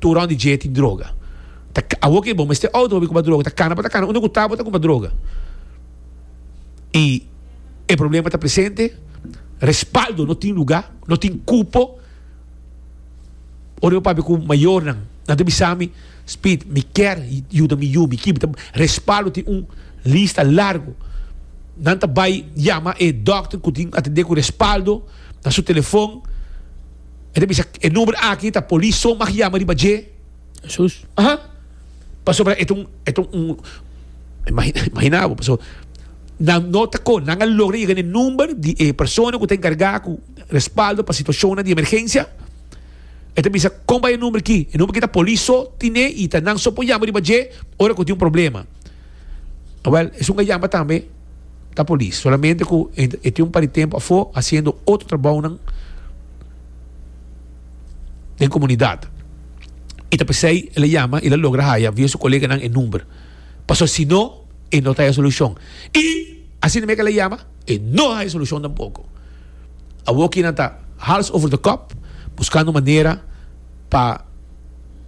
Tur rond di dje tin droga. Ta awor ke bo mester auto pa bin kumpra droga, ta kana pa ta kana unda ku ta bo ta kumpra droga. I e problema ta presente, respaldo no tin luga, no tin kupo. Ora mi papia ku mayornan, nan ta bisa mi, Speed, mi kier yuda mi yu, mi kier, mi ta respaldo tin un lista largo. Nan ta bai yama e dokter ku tin atende ku respaldo na su telefon. E ta bisa e number aki ta polis so mag yama riba dje. Jesús. Aha. Pasobra e ta un e ta un imagina bo pasobra nan no ta kon nan a logra yega na e number di e persona ku ta enkargá ku respaldo pa situashonnan di emergensia. E ta bisa kon bai e number aki? E number aki ta polis so tine i ta nan so por yama riba dje ora ku tin un problema. Awel esun a yama tambe ta polis solamente ku e tin un par di tempo afó hasiendo otro trabounan den komunidat. I ta p'esei el a yama i el a logra haya via su koleganan e number. Pasobra si no, e no ta haya solushon. I asina mes ku el a yama, e no a haya solushon tampoko. Awor ki nan ta hals over de kop buskando manera pa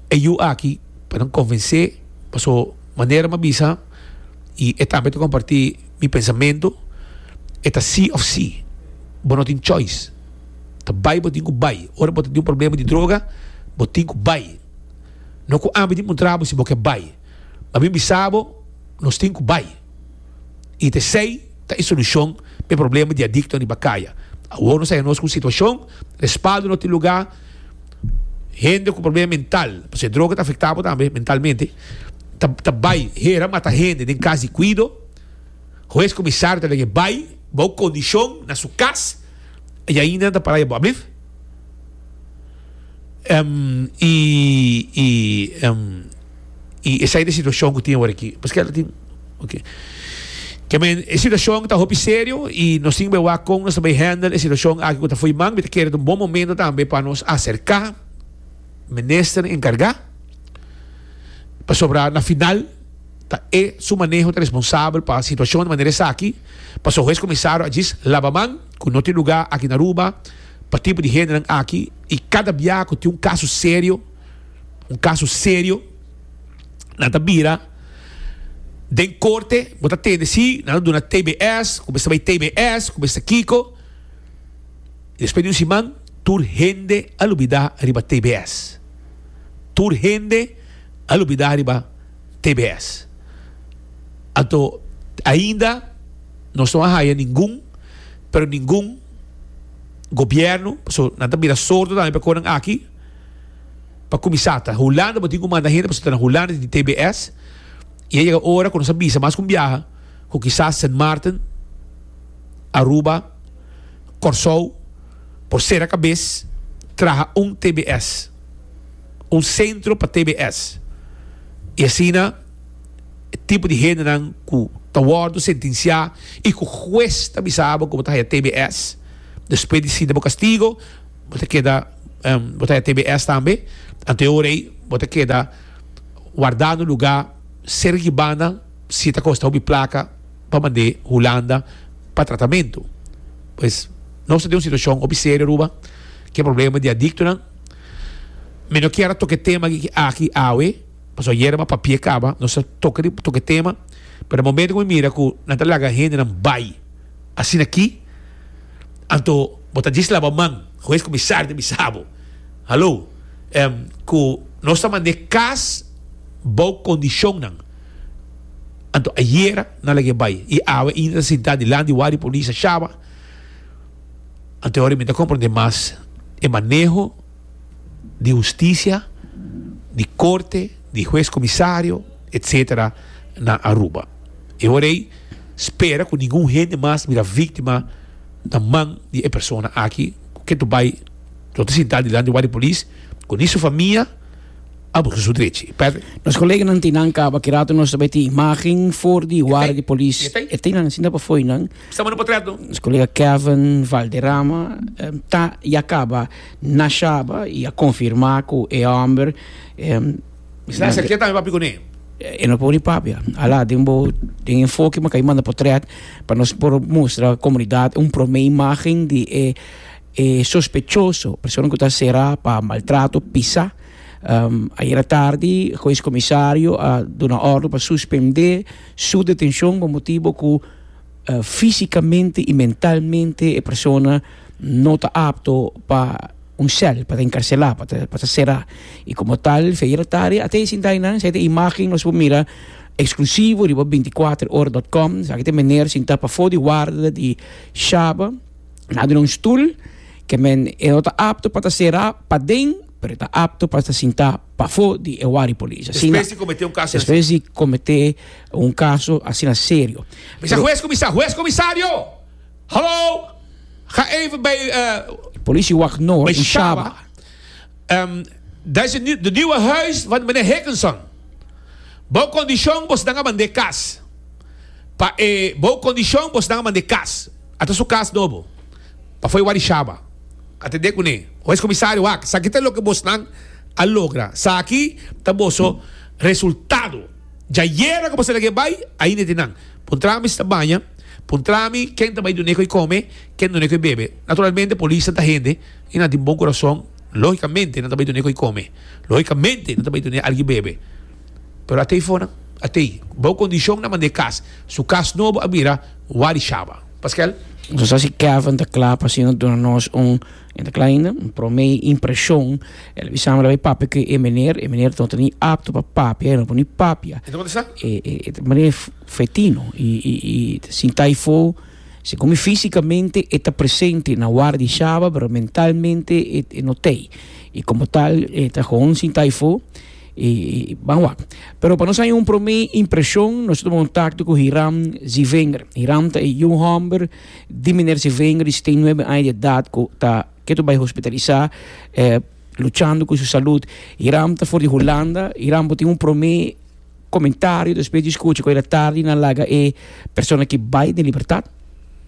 e yu aki pa nan konvensé pasobra manera mi a bisa i e tambe ta kompartí mi pensamentu, e ta sí òf sí. Bo no tin choice. Ta bai bo tin ku bai. Ora bo ta tin un problema di droga, bo tin ku bai. No ku ami tin puntra bo si bo ke bai. Ma mi bisa bo, nos tin ku bai. I ta esei ta e solushon pa e problema di adikto riba kaya. Awor nos a haña nos ku un situashon, respaldo no tin lugá, hende ku problema mental, pasobra e droga ta afektá bo tambe mentalmente, ta ta bai hera mata hende den kas di kuido. Hues komisario ta lege bai bou kondishon na su kas i ainda nan ta para bo ablief. I i i esei ta e situashon ku tin awor aki. Paske el tin oke. Ke men e situashon ta hopi serio i nos tin ku bai wak kon nos ta bai handle e situashon aki ku ta fo'i man. Mi ta kere ta un bon momento tambe pa nos aserká minister enkargá pasobra na final ta e su maneho ta responsabel pa situacion di manera esaki, pasobra hues comisario a djis laba man cu no tin lugar aki na Aruba pa tipo di hendenan aki y cada biaha cu tin un caso serio, un caso serio nan ta bira den corte, bo ta tende si nan ta duna T B S, cu mester bay T B S, cu mester kico, y despues di un siman tur hende a lubida riba T B S, tur hende a lubida riba. T B S. Anto ainda nos no a haya ningun, pero ningun gobierno, pasobra nan ta bira sordo tambe pa e konan aki, pa kuminsá ta Hulanda bo tin ku manda hende pasobra ta na Hulanda tin T B S i a yega ora ku nos a bisa mas ku un biaha ku kisas Sint Maarten, Aruba, Kòrsou por sera kabes Traha un T B S, un sentro pa T B S. I asina, tipo di hendenan ku ta wòrdu sentensiá i ku hues ta bisa bo ku ta T B S, despues di sinta bo kastigu, bo ta keda um, bo ta T B S tambe, anto bo ta keda wardá na lugá serka banda si ta kosta un plaka pa mand'é Hulanda pa tratamentu. Pues nos tin un situashon hopi serio, Aruba, ku e problema di adiktonan. Mi no ke toka tema aki aki awe, paso ayera m'a papia kaba, nos a toka toka tema, pero na momento ku mi mira ku nan ta laga hendenan bai asina aki, anto bo ta djis laba man, hues komisario ta bisa bo. Hallo, um, ku nos ta mand'é kas bou kondishonnan. Anto ayera nan lag'é bai i awe ainda sintá dilanti warda di polis Shaba. Anto awor mi ta komprondé mas e maneho di hustisia, di korte, di hues komisario, et cetera na Aruba. I awor spera ku ningun hende mas bira víktima na man di e persona aki ku ta bai ta sintá dilanti di polis ku su famia a buska su derecho. Patrick? Nos koleganan t'einan kaba, ki ratu nos tambe tin imagen for di warda di polis. E E t'einan, asina pa foi nan. Estamos no portreto. Nos kolega Kevin Valderrama um, ta ya kaba na Shaba i a konfirmá ku e hòmber um, Está cerca tambe papi kuné. E no por papia. Ala, den bo den enfoke m'a kai manda portret pa nos por mustra komunidat un promé imagen di e e sospechoso, persona ku ta será pa maltrato pisá. Um, ayera tardi, hues komisario a duna òrdu pa suspendé su detenshon pa motibu ku uh, físikamente i mentalmente e persona no ta apto pa un sèl, pa enkarselá, pa pa será. I komo tal, ayera tardi, te sintá einan, esei ta imagen nos por mira eksklusivo riba bintikuater ora punto com, sabe ku meneer sintá pafó di warda di Shaba, na un stul, ke men e no ta apto pa será paden, pero ta apto pa sinta pafó di e warda di polis. Asina, Despues di kometé un kaso. Despues di kometé un kaso asina serio. Bisa hues komisario, hues komisario. Hallo. Ga even bij uh, Politiewacht Noord bij in Shaba. Shaba. Um, dat is de, nieuw- de nieuwe huis van meneer Hickinson. Bou kondishon bosnan a mand'é kas. Pa eh, bou kondishon bosnan a mand'é kas. Ata su kas nobo. Pafó di Shaba. Atendé kuné. Hues komisario wak. Esaki ta loke bosnan a logra. Esaki ta boso resultado. Djayera ku boso a lag'é bai, ainda t'einan. Puntrami si e ta baña, puntrami ken ta bai dun'é kos kome, ken dun'é kos bebe. Naturalmente, polis ta hende, i nan tin bon kurason, lógikamente, nan ta bai dun'é kos kome. Lógikamente, nan ta bai dun'é algu bebe. Pero at'é fona, at'é, bou kondishon nan a mand'é kas. Su kas nobo a bira warda di Shaba. Pascal? Nos sa si Kevin ta kla pa asina duna nos un ta kla ainda, un promé impreshon. El a bisa mi papia ku e meneer, e meneer no ta ni apto pa papia, no por ni papia. Anto kon ta? E, e, e meneer fetino i i i sintá eifó, segun físikamente e ta presente na warda di Shaba, pero mentalmente e, e no t'ei. I komo tal, e ta gewoon sintá eifó i, i ban wak. Pero pa nos tin un promé impreshon, nos a tuma kontakto ku Hiram Zivenger. Hiram ta e hòmber di meneer Zivenger, di setenta i nuebe aña di edat, ku ta ku bai hospitalisá, eh, luchando ku su salú. Hiram ta for di Hulanda. Hiram tin un promé komentario despues di skucha ku ayera tardi nan a laga e persona aki bai den libertat.